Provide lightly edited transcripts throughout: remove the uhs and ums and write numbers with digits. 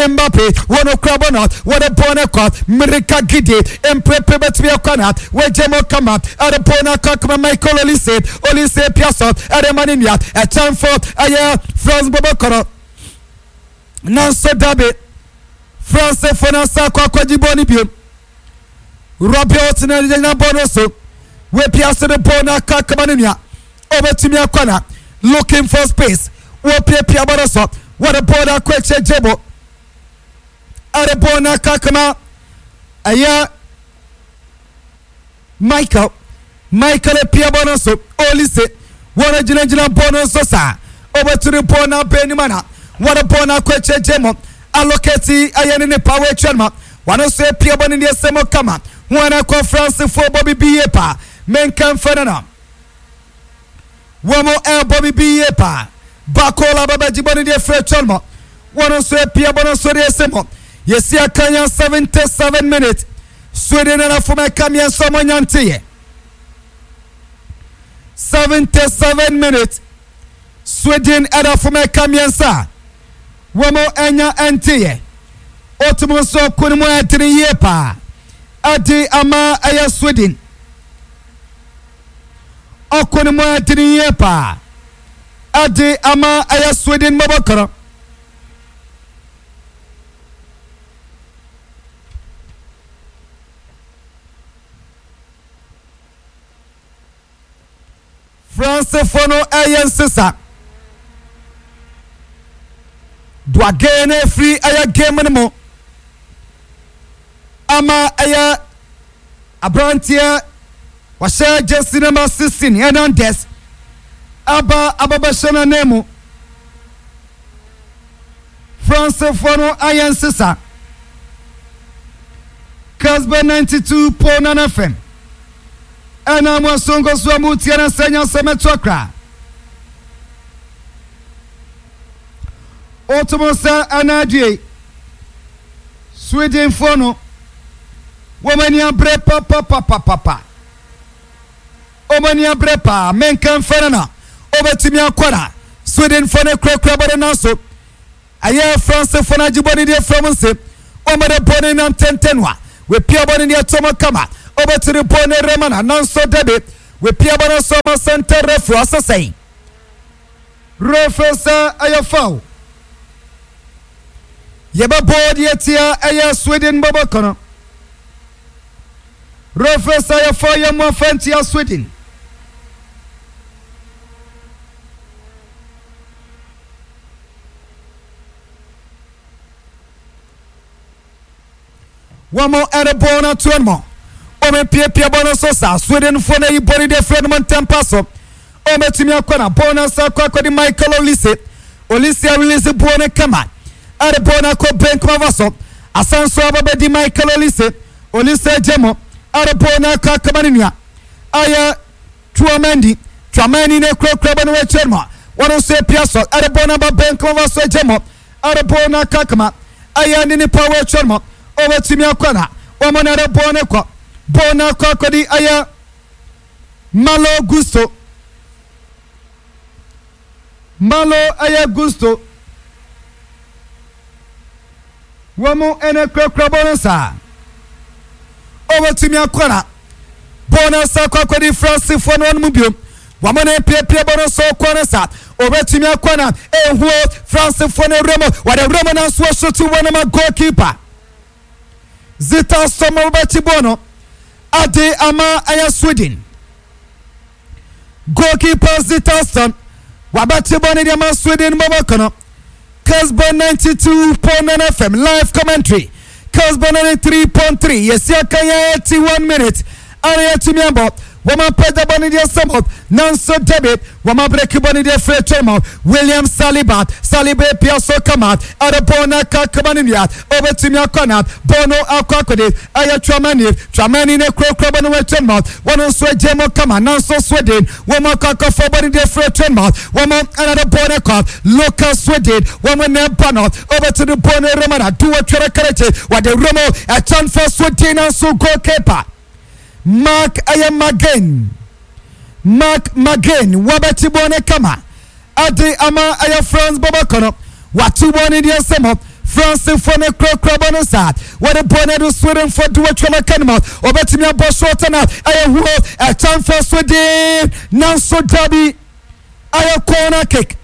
Mbappe wɔn kura bɔ no wɔde bɔɔl no kɔ mmirika gidi mprepre bɛtumi akɔ na wɔagye mu kama ɛde bɔɔl no akɔ akama Michael Olise Olise pia so ɛde ma ne nua ɛkyɛnfo ɛyɛ France bɔbɔ kɔrɔ nanso dabi France fo no nsa akɔ akɔgye bɔɔl no bio Rabiot na gyina bɔɔl no so wɔapia so de bɔɔl no akɔ akama ne nua ɔbɛtumi akɔ na looking for space wɔpiapia bɔ no so wɔde bɔɔl no akɔ akyire gye bo ɛde bɔɔl no akɔ akama ɛyɛ Michael Michael apia bɔ no so Olise wɔn gyinagyina bɔɔl no so saa ɔbɛtumi bɔɔl no abɛn anim ana wɔde bɔɔl no akɔ akyire gye mo alokɛti ɛyɛ ne nipa wɔatwa no ma wɔn nso apia bɔ no deɛ sɛ mo kama wɔn akɔ Francefoɔ bɔ bibi yie paa menka mfa no no Wɔn ɛrebɔ me bi yie paa. Bakola bɛbɛgye bɔ no deɛ firi atwa no wɔn nso apia bɔ no nso deɛ sɛ mɔ yɛsi aka yɛn 77 minutes Sweden nana fom ɛka mmiɛnsa ɔmo nya nteyɛ 77 minutes Sweden ɛda fom ɛka mmiɛnsa a wɔn ɛnya ɛnteyɛ otum nso ɔko no mu ɛdene yie paa ɛde ama ɛyɛ Sweden. Ɔko no mu ayɛ den yie paa de ama ɛyɛ Sweden mmɔbɔkɔrɔ. Fransefoɔ no ɛyɛ nsesa. Duage no afiri ɛyɛ game no mu ama ɛyɛ Aberanteɛ wɔhyɛ jersey number 16 Hernandez aba abɛbɛhyɛ n'ananmu. Fransefoɔ no ayɛ nsesa. Casbah 92.9 FM ɛna mo asongo so a mo tie na sɛ nya sɛ mɛto akra. Otomo sɛ ɛna adie. Swedenfoɔ no, wɔn ani abere papapapapa. Wɔn ani abere paa. Menka mfa no na wɔbɛtumi akɔ na Swedenfoɔ no kurakura bɔde nanso ɛyɛ Francefoɔ no agye bɔde deɛ fam nse. Wɔn de bɔde nam tɛntɛn a wɔapia bɔde deɛ to mu kama. Wɔbɛtumi bɔde no rema na nanso dabi wɔapia bɔde nso ama center referee asesɛe. Referee sɛ ɛyɛ foul. Yɛbɛbɔ deɛ tia ɛyɛ Sweden bɔbɔ kɔnɔ. Referee sɛ ɛyɛ foul yɛ mu afa ntia Sweden. Wɔn rebɔ no ato no wɔn mpiapia bɔ no so saa Swedenfoɔ no ayi bɔ no de afiri no ntɛmpa so wɔbɛtumi akɔ na bɔɔl no asa akɔ akɔde Michael Olise Olise arelease bɔɔl no kama ɛde bɔɔl no akɔ benkum ava so asan so aba bɛdi Michael Olise Olise agye mu ɛde bɔɔl no akɔ akɔma ne nua ayɛ Tchouameni Tchouameni no kurakura bɔ no wɔ akyire no wɔn nso apia so ɛde bɔɔl no aba benkum ava so agye mu ɛde bɔɔl no akɔ akɔma ɛyɛ ne nipa wɔ akyire no wɔbɛtumi akɔ na wɔn na ɛde bɔɔl no kɔ bɔɔl no akɔ akɔdi ɛyɛ Malo Gusto Malo ɛyɛ Gusto wɔn ɛna kurakura bɔɔl no saa wɔbɛtumi akɔ na bɔɔl no asa akɔ akɔdi Francefoɔ no wɔn mu biom wɔn na piapia bɔɔl no so kɔ no saa wɔbɛtumi akɔ na ehuo Francefoɔ no awura mu wɔde awura mu nanso wɔsoto wɔn ma goalkeeper Zita Sɔmɔ wɔbɛkyi bɔɔl no ade ama ɛyɛ Sweden goalkeeper Zita Sɔm wɔabɛkyi bɔɔl no de ama Sweden bɔbɔ no Casbah 92.9 FM live commentary. Casbah 93.3 yɛsi aka yɛn 81 minutes ana yɛtumi abɔ wɔn apagya bɔ ne deɛ sɛm nanso dabi wɔn abreki bɔ ne deɛ firi atwa mu William Saliba Saliba epia so kama ɛde bɔɔl no aka kama ne nua ɔbɛtumi akɔ na bɔɔl no akɔ akɔde ɛyɛ Tchouameni Tchouameni ne kurakura bɔ ne wɔ atwa mu wɔn nso agye mu kama nanso Sweden wɔn akɔ akɔfɔ bɔ ne deɛ firi atwa mu wɔn ɛna de bɔɔl no kɔ Lucas Sweden wɔn na ɛba no ɔbɛtumi bɔɔl no rema na do wɔtwɛrɛ kɛrɛkye wɔde remo ɛkyɛnfo Sweden nanso goalkeeper Mark ɛyɛ Magen Mark Magen wabɛkyi bɔɔl no kama ɛde ama ɛyɛ France bɔbɔkɔ no watu bɔɔl no deɛ nsɛm hɔ. Francefoɔ no kurakura bɔ no saa. Wɔde bɔɔl no adu Swedenfoɔ de wɔatwa no aka no mu. Wɔbɛtumi abɔ short na ɛyɛ huo. Ɛkyɛnfoɔ Sweden nanso dabi ɛyɛ corner kick.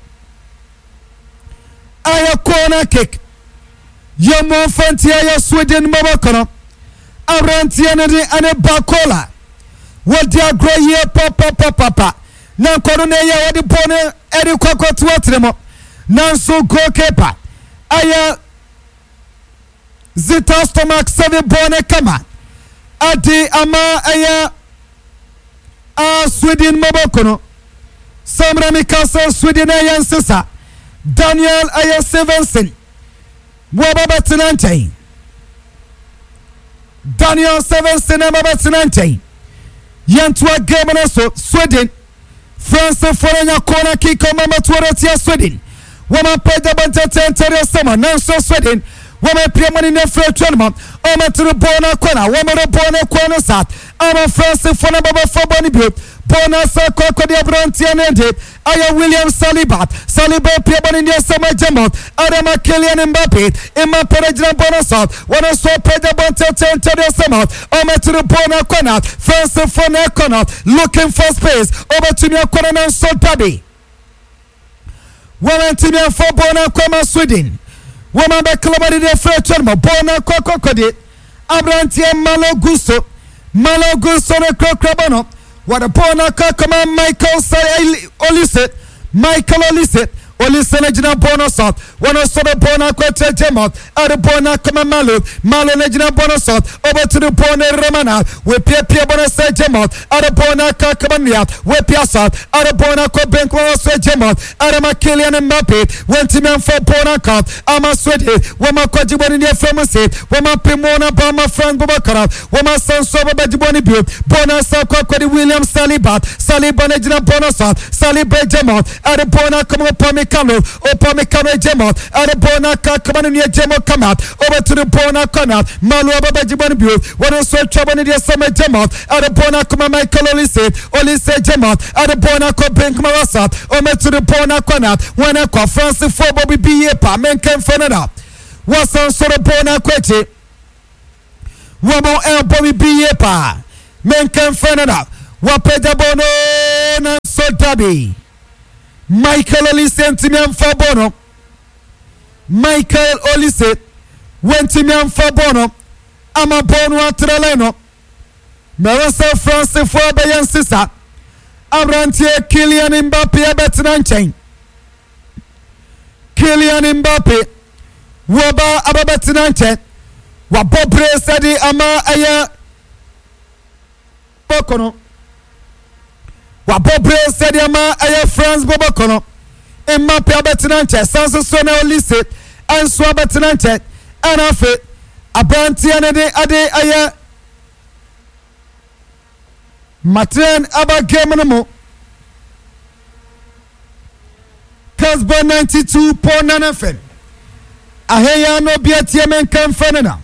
Ɛyɛ corner kick. Yɛmmɔ mfa ntia yɛ Sweden mmɔbɔkɔ no. Aberanteɛ no de ɛne Bakola. Wɔdi agorɔ yie papapapapa. Na nkɔno na ɛyɛ wɔde bɔɔl no ɛde kɔ akɔto atere mu. Nanso goalkeeper ɛyɛ Zita Stomach sɛde bɔɔl no kama ɛde ama ɛyɛ a Sweden mmɔbɔkɔ no. Sɛ mmerɛ meka sɛ Sweden ɛyɛ nsesa. Daniel ɛyɛ Stevenson. Wɔba bɛtena nkyɛn. Daniel Stevenson ɛba bɛtena nkyɛn. Yɛntoa game no so Sweden. Francefoɔ no anya corner kick ɔma mɛtoɔ no atia Sweden. Wɔn apagya bɔ ntɛntɛntɛdeɛ sɛma nanso Sweden wɔn apia mu ne ne afiri atwa no mu. Wɔn tiri bɔɔl no akɔ na wɔn de bɔɔl no kɔ no saa ama Francefoɔ no bɛbɛfa bɔɔl no bio. Bɔɔl no asa akɔ akɔde aberanteɛ no de ayɛ William Saliba. Saliba apia bɔ ne ne asɛm agya mu ɛde ma Kylian Mbappe. Mbappe no gyina bɔɔl no so. Wɔn nso apagya bɔ ntɛntɛntɛdeɛ sɛma wɔn tiri bɔɔl no akɔ na Francefoɔ no ɛkɔ no looking for space. Wɔbɛtumi akɔ no nanso dabi. Wɔn ntumi amfa bɔɔl no akɔ ama Sweden. Wɔn abɛkala de de afiri atwa no mu. Bɔɔl no akɔ akɔkɔde aberanteɛ Malo Gusto. Malo Gusto no kurakura bɔ no. Wɔde bɔɔl no akɔ akɔma Michael Olise. Michael Olise. Olise no gyina bɔɔl no so. Wɔn nso de bɔɔl no akɔ akyerɛ Jamal. Ɛde bɔɔl no akɔma Malo. Malo no gyina bɔɔl no so. Ɔbɛtu de bɔɔl no rema no. Wɔapiapia bɔɔl no sɛ Jamal. Ɛde bɔɔl no akɔ akɔma nua. Wɔapia so. Ɛde bɔɔl no akɔ benkum hɔ sɛ Jamal. Ɛde ma Kylian Mbappe. Wɔntumi amfa bɔɔl no ankɔ. Ama Sweden. Wɔn akɔgye bɔɔl no ne afra mu se. Wɔn apem wɔn aba ama France bɔbɔkara. Wɔn asan so abɛbɛgye bɔɔl no bio. Bɔɔl no asan akɔ akɔde William Saliba. Saliba no gyina bɔɔl no so. Saliba Jamal. Ɛde bɔɔl no akɔma Upamecano. Upamecano Jamal. Ɛde bɔɔl no akɔ akɔma no nua Jamal Kama. Ɔbɛto de bɔɔl no akɔ na Malo abɛbɛgye bɔɔl no bio. Wɔn nso atwa bɔɔl no deɛ sɛmɛ Jamal. Ɛde bɔɔl no akɔma Michael Olise. Olise Jamal. Ɛde bɔɔl no akɔ benkum wasa. Ɔbɛto de bɔɔl no akɔ na wɔn akɔ Francefoɔ bɔ bibi yie pa menkɛmfɛ no na wɔsan so de bɔɔl no akɔ akyi. Wɔn ɛbɔ bibi yie paa menkɛmfɛ no na wɔapagya bɔɔl no nanso dabi. Michael Olise ntumi amfa bɔɔl no. Michael Olise wantumi amfa bɔɔl no ama bɔɔl no atra line no. Mɛwɔ sɛ Francefoɔ bɛyɛ nsesa. Aberanteɛ Kylian Mbappe abɛtena nkyɛn. Kylian Mbappe wɔba abɛbɛtena nkyɛn. Wabɔ bere sɛde ama ɛyɛ bɔkɔ no. Wabɔ bere sɛde ama ɛyɛ France bɔbɔkɔ no. Mbappe abɛtena nkyɛn. San so na Olise nso abɛtena nkyɛn. Ɛna afei aberanteɛ no de ɛde ɛyɛ Martin aba game no mu. Casbah 92.9 FM. Aheya no bi atie me nka mfɛ no na.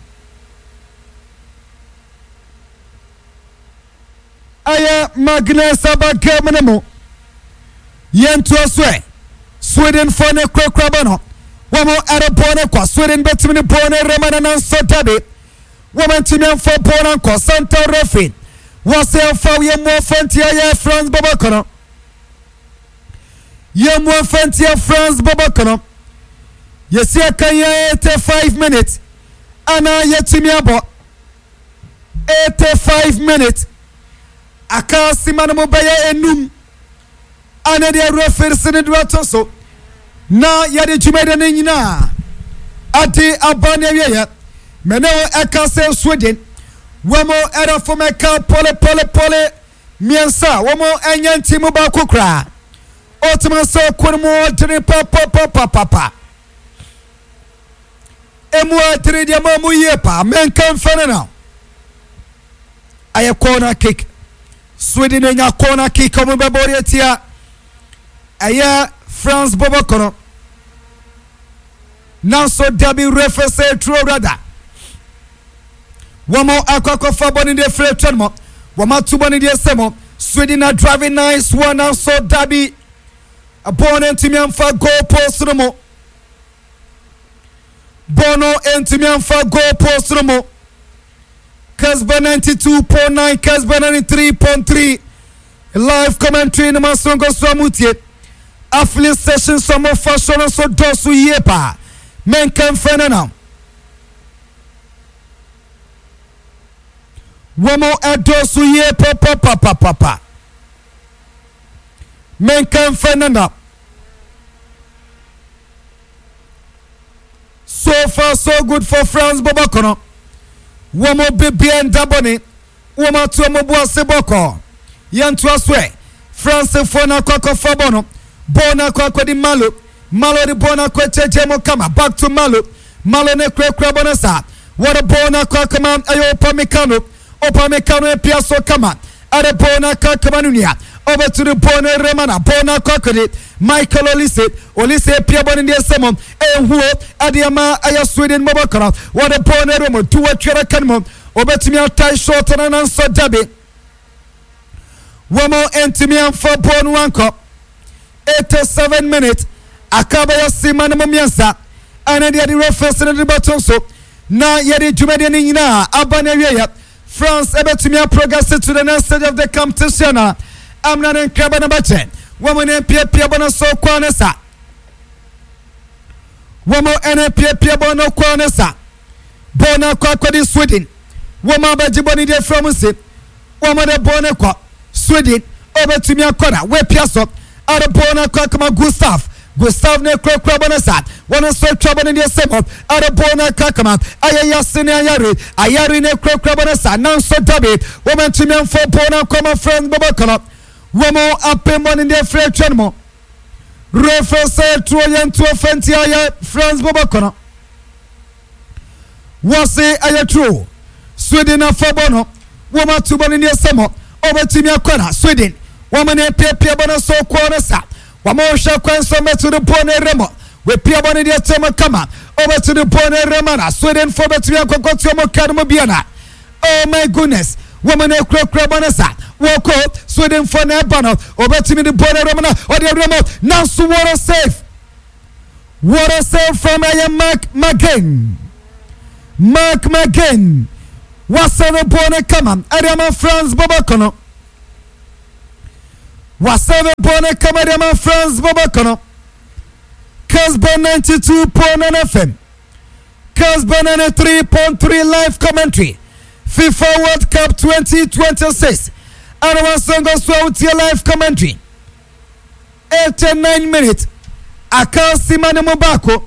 Ɛyɛ Magnus aba game no mu. Yɛntoa so ɛ. Swedenfoɔ ne kurakura bɔ no. Wɔn ɛrebɔ no kɔ. Sweden bɛtumi ne bɔɔl no rema no nanso dabi. Wɔn ntumi amfa bɔɔl no ankɔ. Center referee wɔsɛ ɛmfa yɛn mu afa ntia yɛ France bɔbɔ no. Yɛn mu afa ntia France bɔbɔ no. Yɛsi aka yɛn 85 minutes ana yɛtumi abɔ 85 minutes aka asima no mu bɛyɛ enum ana deɛ referee si ne do ato so na yɛde dwumadi no nyinaa ade aba ne awieɛ mene wo ɛka sɛ Sweden wɔn ɛda fam ɛka pɔle pɔle pɔle mmiɛnsa a wɔn ɛnyɛ nti mu baako koraa ɔtumi sɛ ɔko no mu ɔdene papapapapa emu adene deɛ ma mu yie paa menka mfɛ no na ɛyɛ corner kick. Sweden anya corner kick ɔmo bɛbɔ de atia ɛyɛ France bɔbɔ kɔnɔ nanso dabi referee sɛ turo rada wɔn akɔ akɔfa bɔ ne deɛ firi atwa no mu wɔn ato bɔ ne deɛ sɛ mu Sweden na driving nice one nanso dabi bɔɔl no ntumi amfa goal post no mu. Bɔɔl no ntumi amfa goal post no mu. Kesba 92.9, Kesba 93.3 live commentary no ma sonko so amutie. Affiliate station so mofa so no so dɔɔso yie paa. Menka mfɛ no nam. Wɔn ɛdɔɔso yie papapapapa. Menka mfɛ no nam. So far so good for France bɔbɔkɔ no. Wɔn bibia nda bɔne. Wɔn ato wɔn bo ase bɔkɔɔ. Yɛntoa so ɛ. Francefoɔ no akɔ akɔfa bɔ no. Bɔɔl no akɔ akɔdi Malo. Malo de bɔɔl no akɔ akyɛkyɛ mu kama. Back to Malo. Malo ne kurakura bɔ no saa. Wɔde bɔɔl no akɔ akɔma ɛyɛ Upamecano. Upamecano apia so kama. Ɛde bɔɔl no akɔ akɔma no nua. Ɔbɛto de bɔɔl no rema na bɔɔl no akɔ akɔdi Michael Olise. Olise apia bɔ no deɛ sɛ mu. Ɛnhuo ɛde ama ɛyɛ Sweden bɔbɔkɔ no. Wɔde bɔɔl no rema tu wɔtwere ka no mu. Obetumi atae shot no nanso dabi. Wɔn ntumi amfa bɔɔl no ankɔ. 87 minutes aka bɛyɛ sima no mu mmiɛnsa ɛne deɛ de referee no de bɛto nso na yɛde dwumadie no nyinaa aba no awieɛ. France ɛbɛtumi aprogress to the next stage of the competition a amena ne nkraba no bɛkyɛ wɔn ne mpiapia bɔ no so kɔɔ ne sa wɔn ne mpiapia bɔ no kɔɔ ne sa bɔɔl no akɔ akɔdi Sweden wɔn abɛgye bɔ no deɛ fira mu se wɔn de bɔɔl no kɔ Sweden ɔbɛtumi akɔ na wɔapia so ɛde bɔɔl no akɔ akɔma Gustav Gustav ne kurakura bɔ no sa wɔn nso atwa bɔ no deɛ sɛ mu ɛde bɔɔl no akɔ akɔma ɛyɛ yase ne ayare ayare ne kurakura bɔ no sa nanso dabi wɔn ntumi amfa bɔɔl no akɔma France bɔbɔ kɔnɔ wɔn apem bɔ no deɛ fira atwa no mu referee sɛ tuo yɛn tuo fɛnti ayɛ France bɔbɔ kɔnɔ. Wɔse ɛyɛ true. Sweden afa bɔ no. Wɔn ato bɔ no ne ɛsɛ mɔ. Wɔbɛtumi akɔ na Sweden. Wɔn ne piapia bɔ no so kɔɔ no sa. Wɔn hwɛ kwan so mɛto de bɔ no rɛmɔ. Wɔpia bɔ no deɛ kyɛ mo kama. Wɔbɛto de bɔ no rɛmɔ na Sweden fo bɛtumi akɔkɔ tuo mo ka no mu bia na. Oh my goodness. Wɔn ne kurakura bɔ no sa. Wɔkɔ Sweden fo na ɛba no. Wɔbɛtumi de bɔ no rɛmɔ na ɔde rɛmɔ. Nanso wɔrɔ safe. What a save from ɛyɛ Mark McGinn. Mark McGinn wasɛbe bɔɔl no kama ɛde ama France bɔbɔkɔ no. Wasɛbe bɔɔl no kama ɛde ama France bɔbɔkɔ no. Casbah 92.9 FM. Casbah 93.3 live commentary. FIFA World Cup 2026. Ɛna wasango so a wotie live commentary. 89 minutes aka sima no mu baako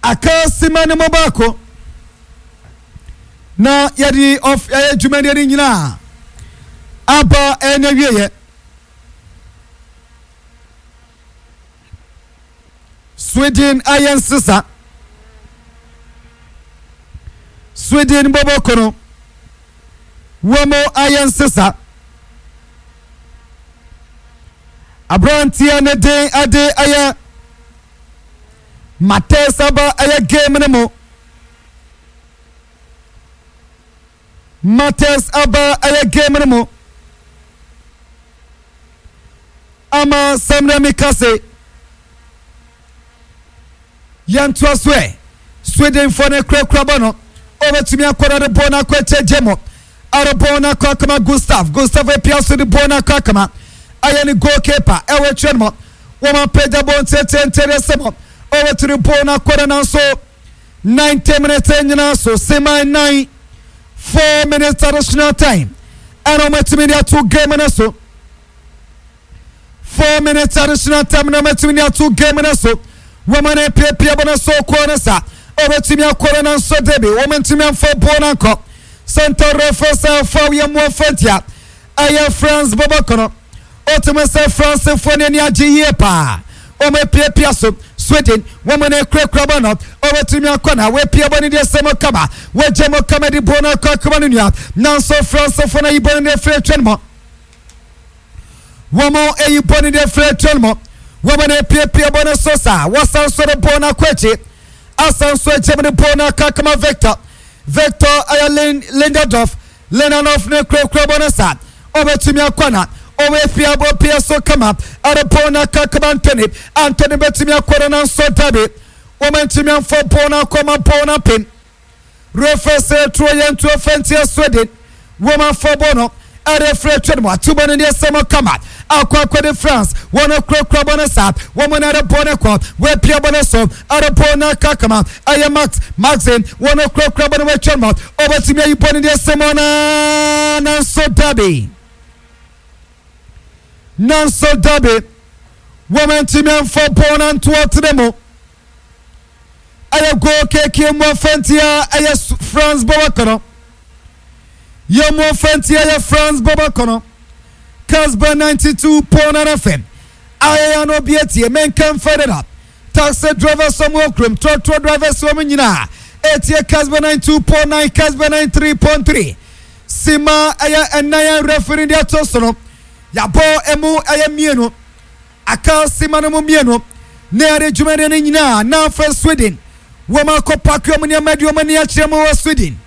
aka sima no mu baako na yɛde ɔf ɛyɛ dwumadie no nyinaa aba ɛna wieɛ. Sweden ayɛ nsesa. Sweden bɔbɔ kono. Wɔn ayɛ nsesa. Aberanteɛ ne den ade ayɛ Matthias aba ɛyɛ game no mu. Matthias aba ɛyɛ game no mu. Ama sɛmrɛ mi ka se yɛntoa so ɛ. Swedenfoɔ no kurakura bɔ no. Ɔbɛtumi akɔ no de bɔɔl no akɔ akyɛ mu. Ɛde bɔɔl no akɔ akama Gustav. Gustav apia so de bɔɔl no akɔ akama. Ɛyɛ ne goalkeeper ɛwɔ akyire no mu. Wɔn apagya bɔɔl ntiantiantia de sɛ mu. Ɔbɛtumi bɔɔl no akɔ no nanso 90 minutes nyinaa so seman 9 4 minutes additional time ɛna wɔatumi de ato game no so. 4 minutes additional time na wɔatumi de ato game no so. Wɔn ne piapia bɔ no so kɔɔ no sa. Wɔbɛtumi akɔ no nanso debi wɔn ntumi amfa bɔɔl no ankɔ. Center referee sɛ foul yɛ mu ɔfɛntia. Ɛyɛ France bɔbɔ kɔnɔ. Otumi sɛ Francefoɔ no ani agye yie paa. Wɔn apiapia so. Sweden wɔn ne kurakura bɔ no. Wɔbɛtumi akɔ na wɔapia bɔ no deɛ sɛ mo kama. Wɔagye mo kama de bɔɔl no akɔ akoma no nua. Nanso Francefoɔ no ayi bɔ no deɛ firi atwa no mu. Wɔn ayi bɔ no deɛ firi atwa no mu. Wɔn ne piapia bɔ no so saa. Wɔsan so de bɔɔl no akɔ akyi. Asan so agye mu de bɔɔl no akɔ akoma Victor. Victor ɛyɛ Linderdorf. Lenanoff ne kurakura bɔ no saa. Ɔbɛtumi akɔ na. Ɔbɛpia bɔ pia so kama ɛde bɔɔl no aka kama Anthony. Anthony bɛtumi akɔ no nanso dabi. Wɔantumi amfa bɔɔl no akɔ ma bɔɔl no apem. Refa sɛ turo yɛ ntuo fa ntia Sweden. Wɔn afa bɔɔl no ɛde firi atwa no mu ato bɔ no deɛ sɛ mo kama akɔ akɔde France. Wɔn kurakura bɔ no saa. Wɔn na ɛde bɔɔl no kɔ. Wɔapia bɔ no so ɛde bɔɔl no aka kama ɛyɛ Max Maxim. Wɔn kurakura bɔ no wɔatwa no mu. Ɔbɛtumi ayi bɔ no deɛ sɛ mo na nanso dabi. Nanso dabi. Wɔantumi amfa bɔɔl no anto ɔtene mu. Ɛyɛ goal keke mu afantia ɛyɛ France bɔbɔ kɔnɔ. Yɛ mu afantia ɛyɛ France bɔbɔ kɔnɔ. Casper 92.9 FM. Ayɛyɛ no bi etie menka mfa dada. Taxi drivers wɔn wɔ kurom, trɔtrɔ drivers wɔn nyinaa etie Casper 92.9, Casper 93.3. Sima ɛyɛ ɛnan a referee de ato so no. Yabɔ emu ɛyɛ mmienu. Aka simma no mu mmienu na yɛde dwumadie no nyinaa na afei Sweden wɔn akɔ paaki wɔn nneɛma de wɔn ani akyerɛ mu wɔ Sweden.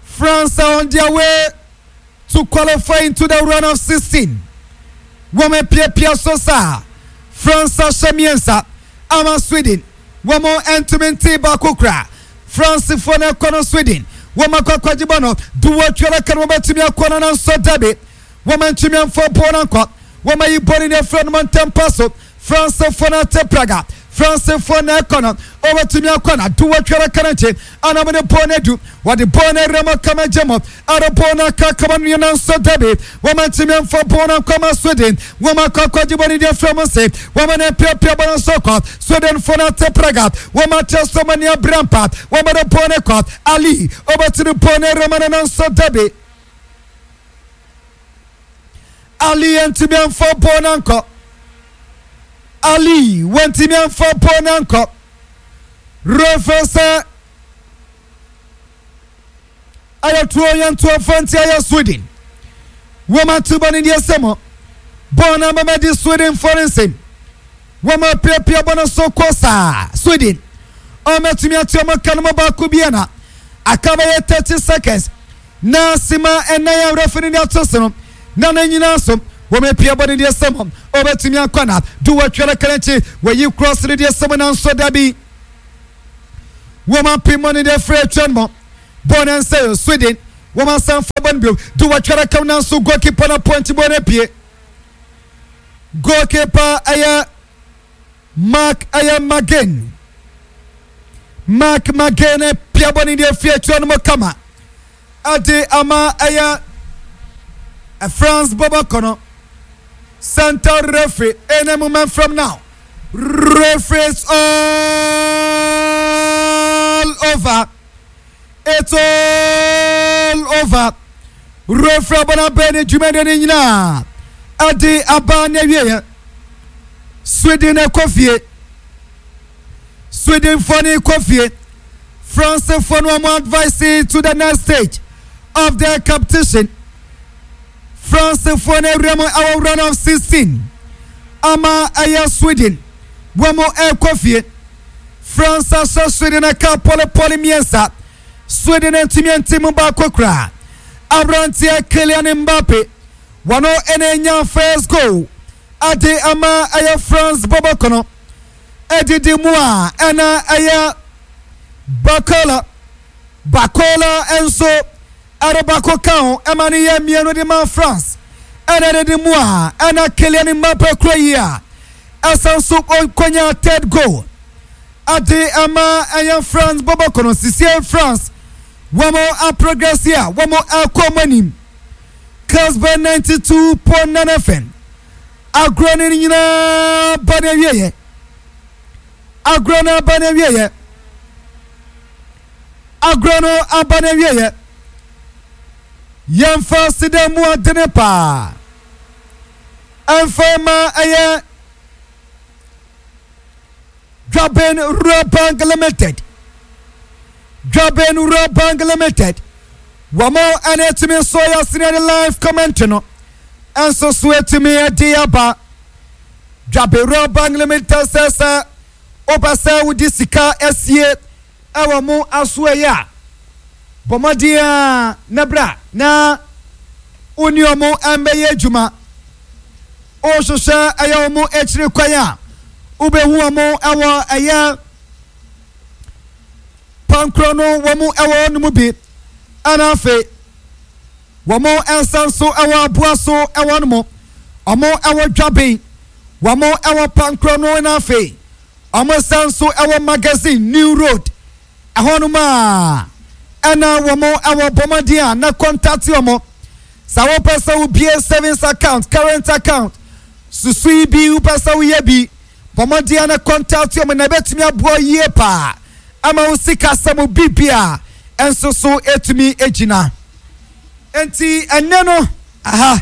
France are on their way to qualify into the round of 16. Wɔn apiapia so saa. France ahyɛ mmiɛnsa ama Sweden. Wɔn ntumi ntee baako koraa. Francefoɔ no ɛkɔ no Sweden. Wɔn akɔ akɔgye bɔ no. Duwɔtwe adaka no wɔbɛtumi akɔ no nanso dabi. Wɔn antumi amfa bɔɔl no ankɔ. Wɔn ayi bɔɔl no de afiri wɔn ntɛmpa so. Francefoɔ no ate Praga. Francefoɔ na ɛkɔ no. Wɔbɛtumi akɔ no. Duwɔtwe adaka no akyi. Ana wɔde bɔɔl no adu. Wɔde bɔɔl no awura mu kama gye mu. Ɛde bɔɔl no aka kama no nanso dabi. Wɔn antumi amfa bɔɔl no ankɔ ama Sweden. Wɔn akɔ akɔgye bɔɔl no de afiri wɔn nse. Wɔn na apiapia bɔɔl no nso kɔ. Swedenfoɔ no ate Praga. Wɔn akyerɛ sɛ wɔn ani abere ampa. Wɔn de bɔɔl no kɔ. Ali ɔbɛtumi bɔɔl no awura mu no nanso dabi. Ali antumi amfa bɔɔl no ankɔ. Ali wantumi amfa bɔɔl no ankɔ. Referee sɛ Ayɛ tuo yɛ ntoɔ fa nti ayɛ Sweden. Wɔn ato bɔ ne deɛ sɛ mo. Bɔɔl no abɛmɛ di Sweden fo ne nsam. Wɔn apiapia bɔ no so kɔ saa. Sweden. Wɔn atumi ato wɔn ka no mu baako bi na aka bɛyɛ 30 seconds. Na sima ɛnan a referee no de ato so no na ne nyinaa so wɔn apia bɔ ne deɛ sɛ mo. Wɔbɛtumi akɔ na do wɔatwa no kɛnɛkye. Wɔyi cross ne deɛ sɛ mo nanso dabi. Wɔn apem bɔ ne deɛ frɛ atwa no bɔ ne nsa yɛ Sweden wɔn asan fa bɔ no bio de wɔatwa rakam nanso goalkeeper na point bɔ no apue goalkeeper ɛyɛ Mark ɛyɛ Magen Mark Magen pia bɔ ne deɛ fie atwa no mu kama ɛde ama ɛyɛ France bɔbɔ kɔ no center referee any moment from now referee is all over it's all over referee abɔna bɛn ne dwumadie no nyinaa ɛde aba ne awieɛ Sweden ɛkɔ fie Swedenfoɔ no kɔ fie. Francefoɔ no wɔn advice to the next stage of the competition. Francefoɔ no awura mu ɛwɔ round of 16 ama ɛyɛ Sweden wɔn ɛkɔ fie. France ahyɛ Sweden aka pɔlepɔle mmiɛnsa. Sweden ntumi nti mu baako koraa. Aberanteɛ Kylian Mbappe wɔn ɛna anya first goal ade ama ɛyɛ France bɔbɔkɔ no. Ɛdidi mu a ɛna ɛyɛ Bakola. Bakola nso ɛde baako ka ho ɛma no yɛ mmienu de ma France. Ɛna ɛdidi mu a ɛna Kylian Mbappe kura yi a ɛsan so konya third goal ɛde ɛma ɛyɛ France bɔbɔkɔ no. Sisie France wɔn aprogress a wɔn ɛkɔ wɔn anim. Casper 92.9 FM. Agorɔ no nyinaa ba n'awieɛ. Agorɔ no aba n'awieɛ. Agorɔ no aba n'awieɛ. Yɛmfa aseda mu adene paa. Ɛmfa ma ɛyɛ Dwaben Rural Bank Limited. Dwaben Rural Bank Limited. Wɔn ɛna etumi nso yɛ asene de live comment no nso so etumi de aba. Dwaben Rural Bank Limited sɛ sɛ wopɛ sɛ wode sika asie ɛwɔ mo aso ɛyɛ a. Bɔ mmɔden ara na bra na wo ne wɔn mmɛyɛ adwuma. Wohwehwɛ ɛyɛ wɔn akyiri kwan a, wobɛhu wɔn wɔ ɛyɛ pankorɔ no wɔn wɔ hɔ no mu bi. Ɛna afei wɔn nsa nso wɔ aboa so wɔ no mu. Wɔn wɔ dwaben, wɔn wɔ pankorɔ no na afei wɔn nsa nso wɔ magazine New Road. Ɛhɔnom a ɛna wɔn wɔ bɔ mmɔden a na kɔntate wɔn. Sɛ wopɛ sɛ wobie savings account, current account, susu yi bi wopɛ sɛ woyɛ bi, bɔ mmɔden a na kɔntate wɔn na ɛbɛtumi aboa yie paa ama wo sikasɛm biribi a nso so ɛtumi gyina. Enti ɛnnɛ no, aha.